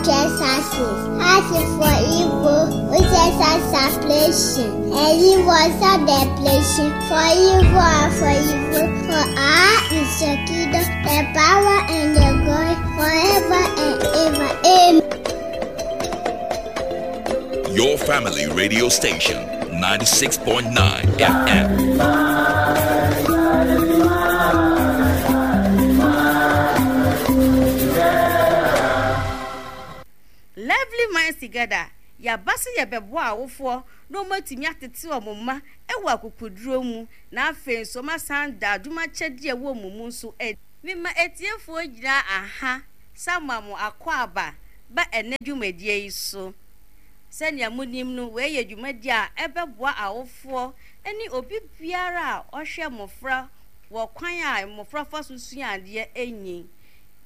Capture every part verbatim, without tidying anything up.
trespasses, as for evil, which is a supplication, and evil is a depletion, for evil and for evil, for I is the kingdom, the power and the glory, forever and ever. Amen. Your family radio station, ninety-six point nine F M. Lively Minds Together, yabasi yabeboa awofo no matimi atete omoma ewa akukuduro mu na afen so masan da adwuma kyede ewo mumu nso e mema etiefo gyina aha samamu akwa ba ene dwumadie yi so sɛnea munim no we ye dwumadie a ebeboa awofo eni obi biara a ɔhwɛ mmofra wɔ kwan a mmofra fa so sua ade enyi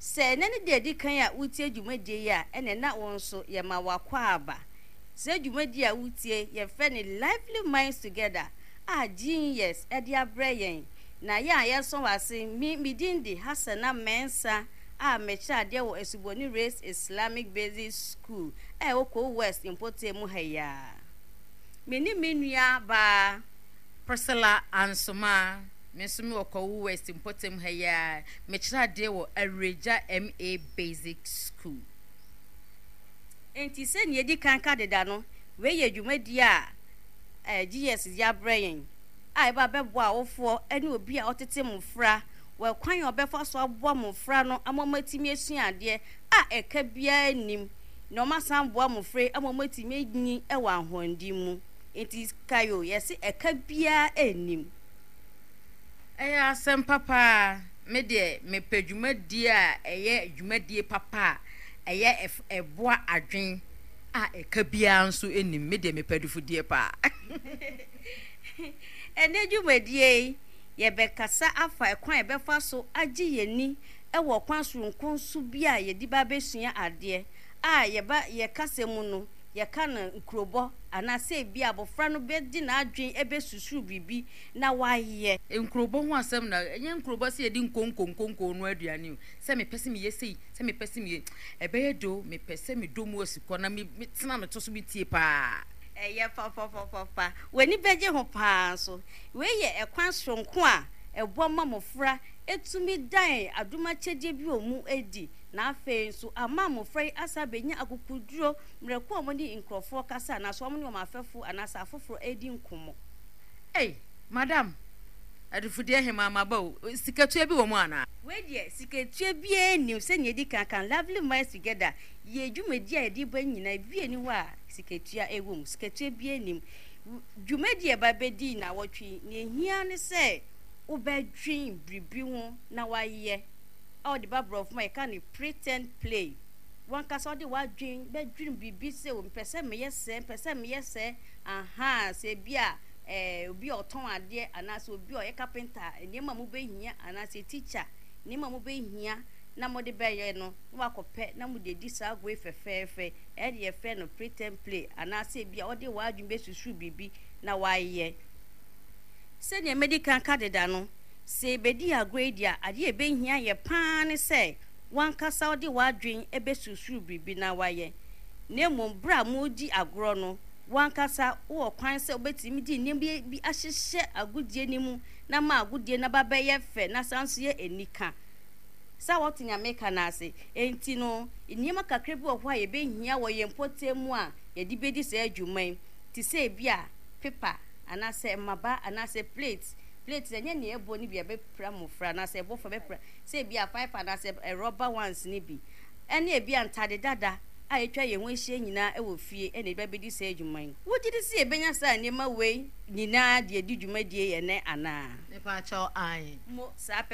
sɛ nene de edi kan a wutie dwumadie yi a ene na won so ye ma wakwa aba sɛ dwumadie a wutie ye fɛ ne Lively Minds Together a genius edi abrɛ yɛn na ye a yeso wase mi midindi Hasana Mensa a mekyerɛ adeɛ wɔ Esuboni Race Islamic Basic School e wɔ West Mpotemu ha ya me ni me nua ba Priscilla Ansoma me nso me wɔ West Mpotemu ha ya mekyerɛ adeɛ wɔ Areja M A Basic School. Enti sɛ ne edi kan ka deda no we ye dwumadie a eh G S ya brɛ a eba bɛboa awofoɔ ene obi a ɔtete mmofra wɔ kwan a ɔbɛfa so aboa mmofra no amomatimi esua adeɛ a ɛka bia nim na ɔmasan boa mmofra amomatimi enyi ɛwɔ ahondi mu. Enti kayo yɛse ɛka bia enim. Ɛyɛ asɛm papa me de mepɛ dwumadie a ɛyɛ dwumadie papa a ɛyɛ ɛboa adwen a ɛka bia nso enim me de mepɛ dufudie pa. Ene dwumadie yɛbɛkasa afa ɛkwan yɛbɛfa so agye yɛni ɛwɔ kwan soronko so bi a yɛde ba bɛsua adeɛ a yɛba yɛkasa mu no yɛka no nkurobɔ anaasɛ bi abɔfra no bɛdi n'adwen ɛbɛsusuru biribi na wayɛ. Nkurobɔ ho asɛm na ɛnyɛ nkurobɔ sɛ yɛde nkonkonkonko no aduane o sɛ mepɛ sɛ meyɛ sei sɛ mepɛ sɛ meyɛ ɛbɛyɛ do mepɛ sɛ medɔ mu asikɔ na metena meto so metie paa. Ɛyɛ fa fa fa fa fa w'ani bɛgye ho paa nso wei yɛ ɛkwan soronko a ɛboa ma mmɔfra etumi dan adomakyɛdeɛ bi wɔ mu edi na afei nso ama mmɔfra yi asa bɛnya akukuduro mmerɛko a wɔne nkurɔfoɔ kasa anaasɛ wɔne wɔn afɛfo anaasɛ afoforɔ edi nkɔmmɔ. Ei, madam, adufudeɛ hema ma ba o, sikatua bi wɔ mu ana? Wei deɛ sikatua biara nnim sɛnea edi kan kan Lovely Minds Together yɛ dwumadie a yɛde ba nyinaa bi ani hɔ a sikatua ɛwɔ mu, sikatua biara nnim. Dwumadie a ɛba bɛdi na wɔtwe nea ehia ne sɛ wobɛdwen biribi ho na wayɛ a wɔde ba borɔfo ma yɛka ne pretend play. Wankasa wɔde wadwen bɛdwen biribi sɛ mpɛ sɛ meyɛ sɛ mpɛ sɛ meyɛ sɛ aha sɛ bi a eh obi a ɔtɔn adeɛ anaasɛ obi a ɔyɛ carpenter nneɛma mo bɛhia anaasɛ teacher nneɛma mo bɛhia na mo de bɛyɛ no na wakɔpɛ na mo de di saa agoe fɛfɛɛfɛ ɛde yɛfrɛ no pretend play anaasɛ bi a ɔde wadwen bɛsusu biribi na wayɛ. Sɛnea medi kan ka deda no sɛ ebedi agoe di a adeɛ ebɛhia yɛ paa ne sɛ wankasa ɔde wadwen ɛbɛsusu biribi na wayɛ. Na mmom bere a mo di agorɔ no wankasa wɔ kwan sɛ wobɛtumi di nneɛma bi ahyehyɛ agodie no mu na ma agodie no ba bɛyɛ fɛ na san so yɛ anika. Sɛ wɔte Nyame ka no ase enti no nneɛma kakra bi wɔ hɔ a yɛbɛhia wɔ yɛn mpɔtam mu a yɛde bɛdi saa adwuma yi te sɛ ebi a pepa anaasɛ mmaba anaasɛ plate. Plate ɛnyɛ nea ɛbɔ no bi a ɛbɛpira mmɔfra anaasɛ ɛbɔ fa bɛpira sɛ ebi a five anaasɛ rubber ones no bi ɛne ebi a ntade dada a yɛtwa yɛn ho ahyia nyinaa ɛwɔ fie ɛna ebi abɛdi saa adwuma yi. Wogye di sɛ yɛbɛnya saa nneɛma wei nyinaa de adi dwumadie yɛ nɛ anaa? Mepa kyɛw ae. Mo saa pɛ